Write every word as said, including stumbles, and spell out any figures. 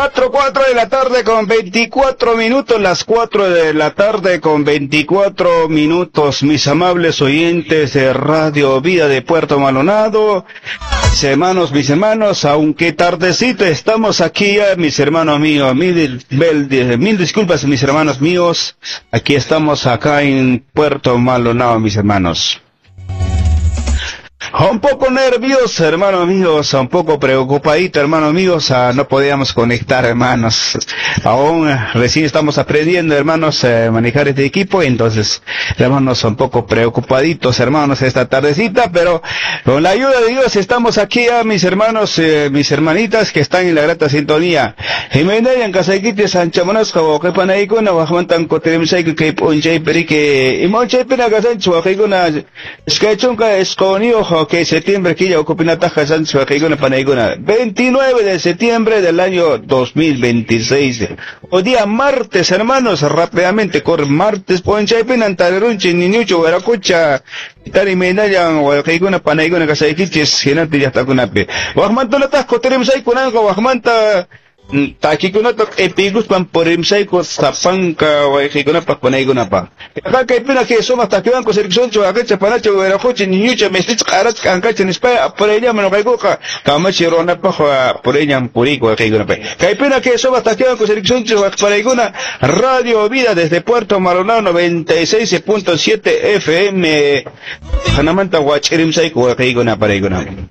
Cuatro, cuatro de la tarde con veinticuatro minutos, las cuatro de la tarde con veinticuatro minutos, mis amables oyentes de Radio Vida de Puerto Maldonado, mis hermanos, mis hermanos, aunque tardecito estamos aquí ya, mis hermanos míos, mil, mil, mil disculpas, mis hermanos míos, aquí estamos acá en Puerto Maldonado, mis hermanos. Un poco nervioso, hermanos míos, un poco preocupadito, hermanos míos, ah, no podíamos conectar, hermanos. Aún eh, recién estamos aprendiendo, hermanos, a manejar este equipo, entonces, hermanos, un poco preocupaditos, hermanos, esta tardecita, pero con la ayuda de Dios estamos aquí, a mis hermanos, eh, mis hermanitas que están en la grata sintonía. Imaynayan kasaykichis anchamunasqa wawqipanaykuna waqmantan kutirimshayku kay p'unchaypi riki imaunchaypina kasanchis wawqiykuna iskay chunka isqunniyuq ok, septiembre killa ukupinataq kasanchis wawqiykuna panaykuna veintinueve de septiembre del año dos mil veintiséis. O día martes, hermanos, rápidamente corre martes p'unchaypina tarirunchis niñucho wiraqucha tari imaynayan wawqiykuna panaykuna kasaykichis hinantin llaqtakunapi waqmantunataq kutirimshaykunanqa waqmanta takikunata q'ipiykuspan purimshayku sapanka wayqiykunapaq panaykunapaq. Kaypina kay sumaq takiwanku sirkisunchik waqicha panacha wiraqucha niñucha mesticha q'aracha k'ankacha nispaya purayllaman nuqaykuqa kamachi runapaq purayllan puriyku wayqiykunapaq. Kaypina kay sumaq takiwanku sirkisunchik waqparaykuna Radio Vida desde Puerto Maldonado noventa y seis punto siete F M. Hanamanta wach'irimshayku wayqiykuna paraykuna.